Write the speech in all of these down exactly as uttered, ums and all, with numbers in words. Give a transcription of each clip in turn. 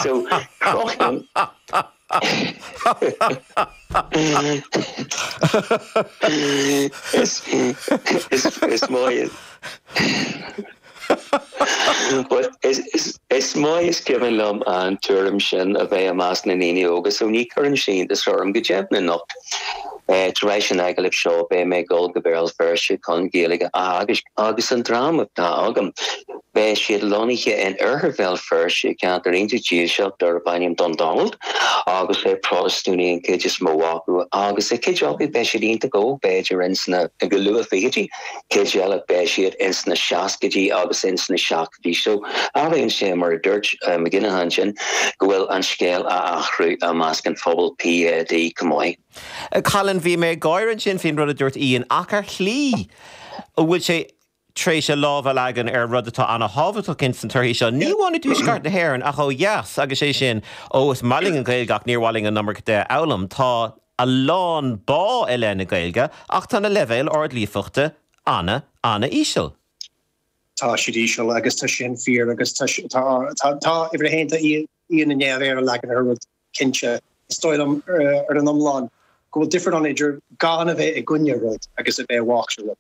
So cruthaíonn is is is maith But is is is maith is cuimhin liom an tuairim sin a bheith i measc na ndaoine óga, so ní chuireann sé iontas orm go deimhin anocht. Tar éis an agallaimh seo beidh mé ag dul go Béal Feirste chun Gaeilge a theagasc agus an dream atá agam, beidh siad lonnaithe in oirthear Bhéal Feirste, ceantar iontach dílseach darb ainm Dundonald agus is Protastúnaigh an chuid is mó acu agus cuid acu beidh siad iontach óg, b'fhéidir ins na go luath fichidí, cuid eile beidh siad ins na seascaidí agus ins na seachtóidí. So airíonn sé mar a dúirt McGinnaghan ansin go bhfuil an scéal á athrú i measc an phobail PAD chomh maith. Colin, bhí mé ag gáire ansin faoin rud a dúirt Ian ach ar shlí an bhfuil sé tar éis a lámh a leagan ar rud atá an-thábhachtach ins an torthaí seo. Ní amháin i dtuaisceart na hÉireann ach ó dheas agus é sin ó is maith linn an Ghaeilge ach níor mhaith linn an iomarca de a fhoghlaim. Tá a lán bá i leith na Gaeilge ach tá na leibhéil ardlíofachta ana, ana-íseal. Tá siad íseal agus tá sin fíor agus tá tá tá tá uimhir a haon tá Ian i ndiaidh a leagan ar rud cinnte. Is dóigh liom ar an iomlán go bhfuil difear ann idir gan a bheith i gcoinne rud agus a bheith i bhfách le rud.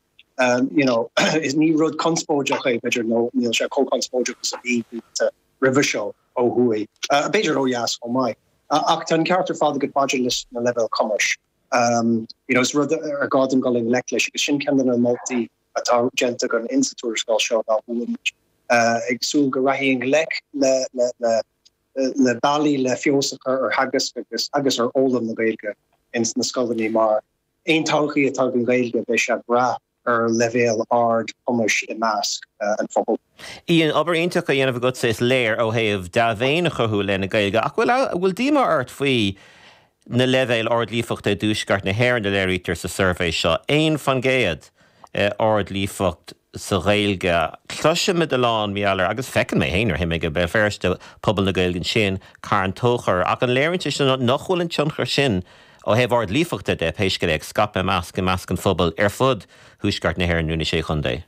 You know, is ní rud conspóideach é b'fhéidir nó níl sé chomh conspóideach is a bhí blianta roimhe seo ó thuaidh, b'fhéidir ó dheas chomh maith. Ach tá an ceart ar fad agat maidir leis na leibhéil cumais. You know, is rud ar gá dúinn dul i ngleic leis agus sin ceann de na moltaí atá déanta againn insa tuarascáil seo ná go bhfuilimid ag súil go rachaidh i ngleic le le le le bealaí le feabhas a chur ar theagasc agus agus ar fhoghlaim na Gaeilge ins na scoileanna mar aon todhchaí atá ag an Ghaeilge beidh sé ag brath ar leibhéal ard cumais i measc an phobail. Ian, obair iontach á dhéanamh agatsa is léir ó thaobh dea-mhéin a chothú le na Gaeilge ach bhfuil bhfuil díomá ort faoi na leibhéil ardlíofachta i dtuaisceart na hÉireann a léirítear sa suirbhé seo? Aon faoin gcéad ardlíofacht sa Ghaeilge. Cloisimid a lán mar gheall air agus feiceann mé féin nuair a théim go Béal Feirste pobal na Gaeilge ansin, Carn Tóchair, ach an léiríonn sé sin nach bhfuil an tionchar sin ó thaobh ardlíofachta de, pé scéal é, ag scaipeadh i measc i measc an phobail ar fud thuaisceart na hÉireann nó na Sé Chontae?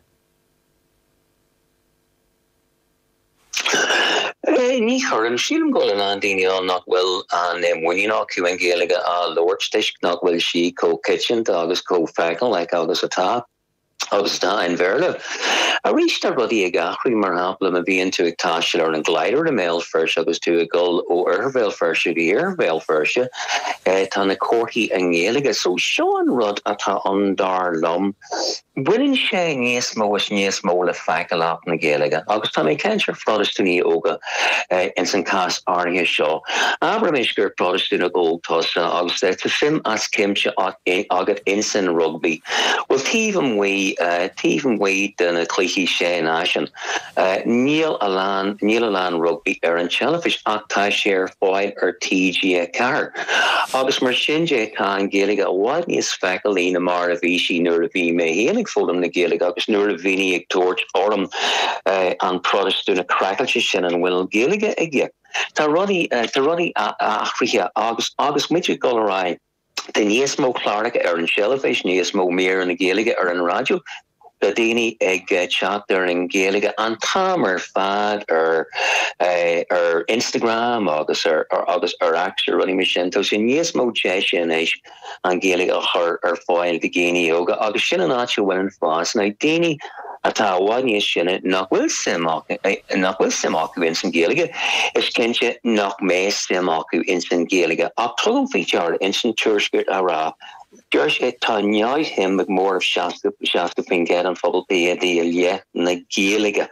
Ní chuireann. Sílim go bhfuil a lán daoine ann nach bhfuil an muinín acu an Ghaeilge a labhairt toisc nach bhfuil sí chomh coitianta agus chomh feiceálach agus atá agus atá an Bhéarla. Arís tá rudaí ag athrú, mar shampla má bhíonn tú ag taisteal ar an Glider i mBéal Feirste agus tú ag dul ó oirthear Bhéal Feirste go iarthar Bhéal Feirste, tá na comharthaí i nGaeilge. So seo an rud atá ann dar liom. Baineann sé níos mó is níos mó le feiceálacht na Gaeilge, agus tá mé ag caint ar Phrotastúnaigh óga ins an cás áirithe seo. Abraimis gur Protastúnach óg tusa agus tá suim as cuimse agat ins an rugbaí. Bhuel, taobh amuigh, taobh amuigh de na cluichí Sé Náisiún, Níl a lán, níl a lán rugbaí ar an teilifís ach tá sé ar fáil ar T G a ceathair. Agus mar sin de tá an Ghaeilge i bhfad níos feiceálaí na mar a bhí sí nuair a bhí mé féin ag foghlaim na Gaeilge agus nuair a bhí daoine ag tabhairt orm an Protastúnach craiceáilte sin an bhfuil Gaeilge aige. Tá rudaí, tá rudaí athraithe agus agus muid ag dul ar aghaidh. Tá níos mó cláracha ar an teilifís, níos mó míreanna Gaeilge ar an raidió. Tá daoine ag teacht ar an Ghaeilge an t-am ar fad ar ar Instagram agus ar agus ar X ar rudaí mar sin. Tá sé níos mó deise anois an Ghaeilge a chur ar fáil do dhaoine óga agus sin an áit a bhfuil an fás. Now daoine atá i bhfad níos sine nach bhfuil suim acu nach bhfuil suim acu ins an Ghaeilge, is cinnte nach mbeidh suim acu ins an Ghaeilge. Ach tugaim faoi deara ins an tuairisc a rá, deir sé tá neamhshuim ag móramh seasca seasca faoin gcéad an phobal PAD i leith na Gaeilge.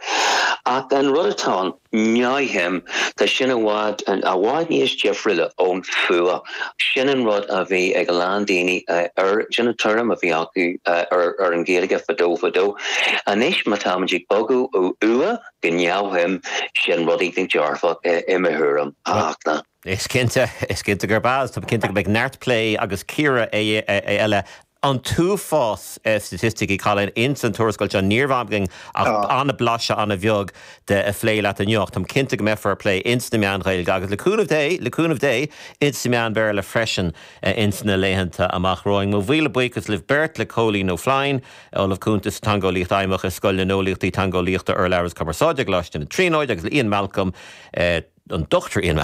Ach an rud atá ann, neamhshuim, tá sin i bhfad, i bhfad níos difriúla ón fuath. Sin an rud a bhí ag a lán daoine ar, sin an tuairim a bhí acu ar ar an Ghaeilge fadó fadó. Anois má táimid ag bogadh ó fhuath go neamhshuim, sin rud éigin dearfach i mo thuairim, a Fhachtna. Is cinnte, is cinnte gurb ea. Tá mé cinnte go mbeidh neart plé agus cíoradh eile An t-uafás staitisticí, Colin, ins an tuarascáil seo, ní raibh againn ach an-bhlaiseadh an-bheag de a phlé leat inniu ach táim cinnte go mbeifear ag plé ins na meáin Ghaeilge agus le cúnamh Dé, le cúnamh Dé, ins na meáin Bhéarla freisin ins na laethanta amach romhainn. Mo mhíle buíochas libh beirt, le Cóilín Ó Floinn, Ollamh Cúnta sa Teangeolaíocht Fheidhmeach i Scoil na nEolaíochtaí Teangeolaíochta, Urlabhra is Cumarsáide i gColáiste na Tríonóide agus le Ian Malcolm, an Dr Ian